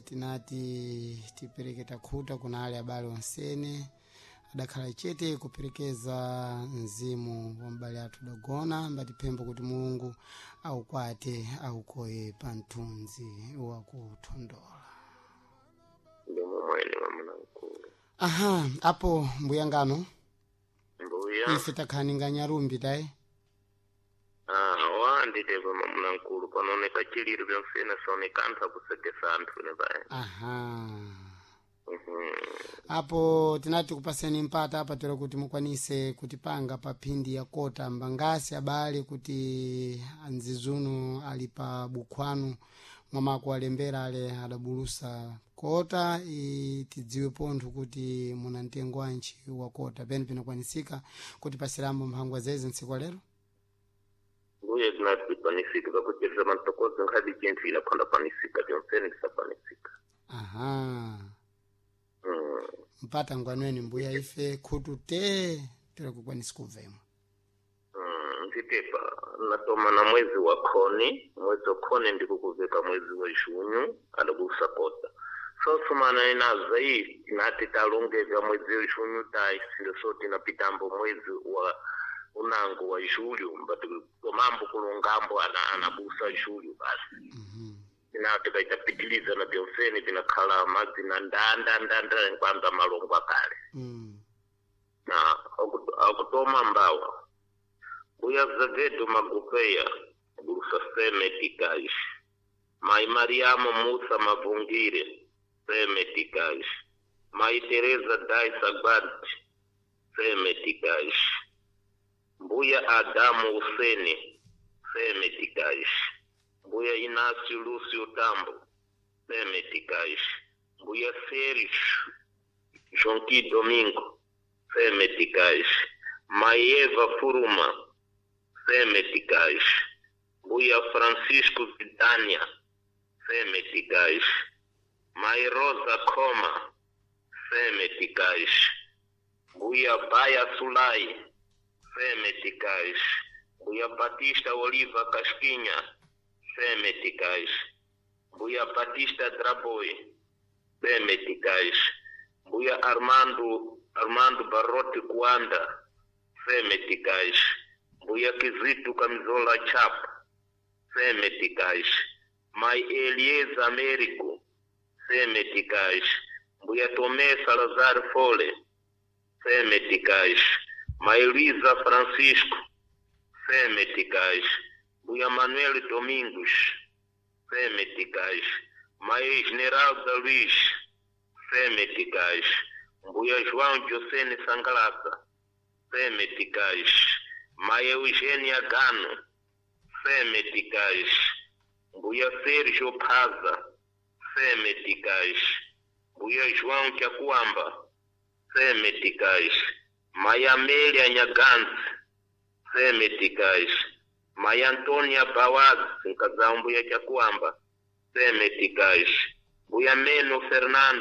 Tinati tipereke takhuta kuna ale abale onsene adakhala chete kuperekeza mzimu wa m'bale athu dagona, mbatipembo kuti Mulungu aukwate aukoye pa mthunzi wakuthondola. Ndi momwene, mwamuna mkulu. Aha, apo mbuyangano. Mbuya. Ife takhaninga nyarumbi tayi. Ah, wanditepa, mwamuna mkulu, panooneka chiliro pyamfena saoneka anthu akusekesa anthu ne paya. Aha. Apo tinati kupaseni mpata apa tero kuti mukwanise kutipanga pa phindi ya kota mbangasi abale kuti anzizuno ali pa bukhwanu mwamako alembera ale adabulusa kota tidziwe pontho kuti muna mtengo wanji wa kota pene pinakwanisika kuti pasirambo mphangwa zezi ntsiku lero. Mbuye, tinati panisika pakucheza mantokozo nkhadi chinthu inakhonda panisika pyamfene tisapanisika. Aha. Mpata ngwanweni mbuya, ife khutu te tero kukwanisa kubvemwa. Nditepa natoma na mwezi wa khoni, mwezi wa khoni ndikukuveka mwezi wa junho adabusa kota sosumana inaza iyi tinati talongeza mwezi wa junho tayi sindo so tinapitambo mwezi wa unango wa julho mbati komambo kulongambo anabusa julho basi. Tina tikaitapitiliza na byonsene vinakhala madzina ndandandanda kwanza malongo akale. Na akutoma mbawa mbuya Zavedo Magupeya gulusa seme tikais, mai Mariamo Musa Mavungire seme tikais, mai Teresa Dai Sagbat seme tikais, mbuya Adamu Useni seme tikais, mbuya Inácio Lúcio Tambo seme tikais, mbuya Sérgio Jonqui Domingo seme tikais, mai Eva Furuma seme tikais, mbuya Francisco Vidania seme tikais, mai Rosa Coma seme tikais, mbuya Baya Sulai seme tikais, mbuya Batista Oliva Casquinha seme tikais, mbuya Batista Draboy seme tikais, mbuya Armando Barrote Kuanda seme tikais, mbuya Kizito Camisola Chapa seme tikais, mai Elieza Américo seme tikais, mbuya Tomé Salazar Fole seme tikais, mai Luísa Francisco seme tikais, mbuya Manuel Domingos seme tikais, mai Esmeralda Luiz seme tikais, mbuya João Josene Sangalasa seme tikais, mai Eugênia Gano seme tikais, mbuya Sérgio Paza seme tikais, mbuya João Chakuamba seme tikais, mai Amélia Nhaganzi seme tikais, mai Antônia Bawaz nkazao mbuya Chakuamba seme tikais, mbuya Meno Fernando.